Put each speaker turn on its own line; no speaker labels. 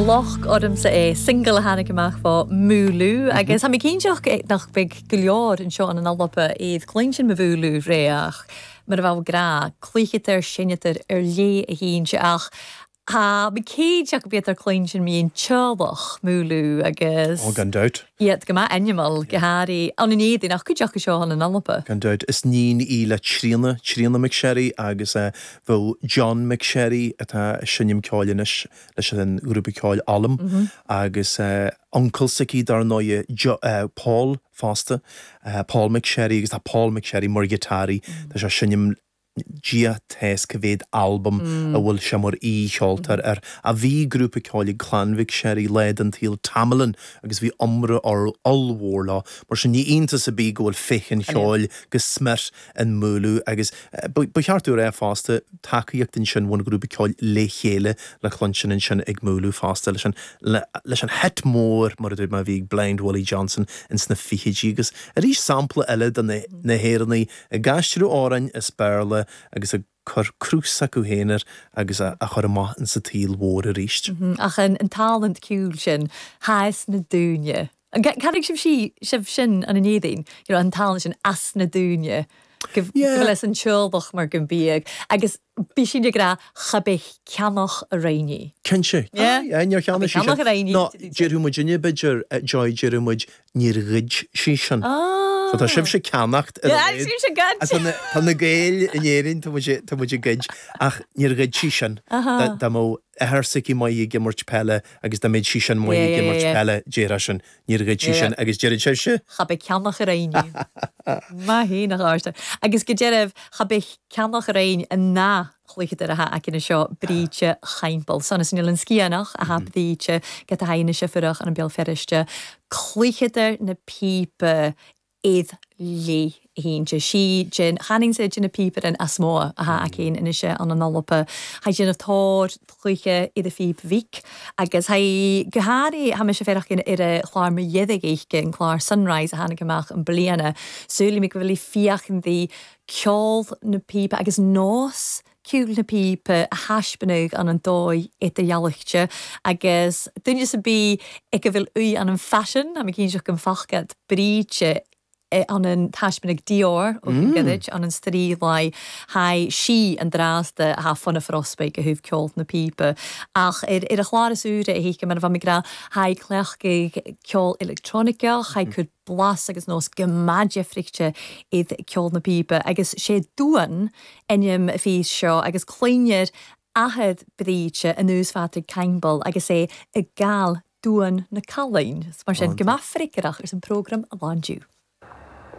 locht ormsa é, single a tháinig amach fá Múlú agus tá mé cinnteach nach mbeidh go leor anseo in an Alba iad cluinstin mo Mhúlú ré ach mar a bheadh grá, cluichitear, seinnetar ar léith a shínte ach tá mé cinnteach go mbítear cluinstin mbíonn teaghlach Múlú agus
Oh gan dabht.
iad go maith ainmeal go háirithe ann in éadain ach cuid acu seo ann in Alba.
Gan dabht. Is níon í le Tríona, Tríona McSherry agus bheadh John McSherry atá ag seinm ceoil anois leis an ghrúpa ceoil Ollam agus uncail s'aici dar ndóighe Paul fosta, Paul McSherry agus tá Paul McSherry mar ghiotáraí, tá sé ag seinm Dia tá's cá mhéad albam a bhfuil sé mar aoi-cheoltóir air. Ach bhí grúpa ceoil ag clann McSherry lá den tsaol, Tamalyn, agus bhí iomrá ollmhór leo. Mar sin ní iontas ar bith go bhfuil féith an cheoil go smior in Múlú agus ba cheart dúinn a rá fosta, tacaíocht ansin ón ghrúpa ceoil Le Chéile le cluinstin ansin ag Múlú fosta leis an leis an hit mór, mar a dúirt mé, a bhí ag Blind Willie Johnson ins na fichidí agus arís sampla eile de na hÉireannaigh ag aistriú amhráin as Béarla agus ag cur cruth s'acu féin air agus á chur amach insa tsaol mhór
arís. Ach an talent ceoil sin, thá as na dúine. Caithfidh sibh sibh sin an Éadaoin, you know, an talent sin as na dúine, go bhfuil as an teaghlach mar go mbíodh agus bí sin ag rá cha bith ceannach a roinní.
Cinnte. Yeah. Aye, níor cheannaigh sí sin. Ceannach a roinní. Nó déarfadh muidinne b'fhéidir, Joy, déarfadh muid níor ghoid sí sin. So tá sibhse ag ceannacht ar a
laghad. Sibhse ag goid.
Tá na, tá na Gaeil in Éirinn, tá muid, tá muid ag goid, ach níor ghoid sí sin. Dá mbeadh athair s'aici maith ag imirt peile agus dá mbeadh sí sin maith ag imirt peile, déarfá sin, níor ghoid sí sin agus deireann sibhse?
Cha bith ceannach ar éinne. Maith fhéin a Dháirse. Agus go deimhin, cha bith ceannach ar éinne ná chluicheadar atá aici anseo, Bríde Chaimbeul. Sonas an Oileán Sciathanach atá Bríde, go haghaidh na Seifreach an Béal Feirste. Cluicheadar na píopa iad léi fhéin. Sí den channing sa de na píopaire as mó atá aici féin anois ann an Alba. Tha déanamh tóir cluiche iad a phíb mhic agus tha go háirithe tha mise féarach ar a chlár Mo Dheirg Oíche, an clár Sunrise a tháinig amach an bliana. Súil mé go bhfuil féachaint di ceol na píopa agus nós ceoil na píopa a thaispeánadh an an dóigh idirdhealaichte agus duine sa bí ag a bhfuil uaidh an an faisean, tá mé cinnteach go bhfacad Bríde an an taispeánadh Dior ó mm. Gairid an an straoláí haigh sí an drásta a fonna frospaigh go thaobh ceol na píopa ach ar ar a chlár is úire a thuigim mar a bheith ag rá haigh cleachtaidh ceol electroniceach haigh cur blas agus nós go maith deifrichte iad ceol na píopa agus sé duan ainm fís seo agus cluinear athair Bríde anuas Phatrick Caimbeul agus é ag gabhail duan na cailín. Mar sin, go maith freagrach ar an prógram a lándiú.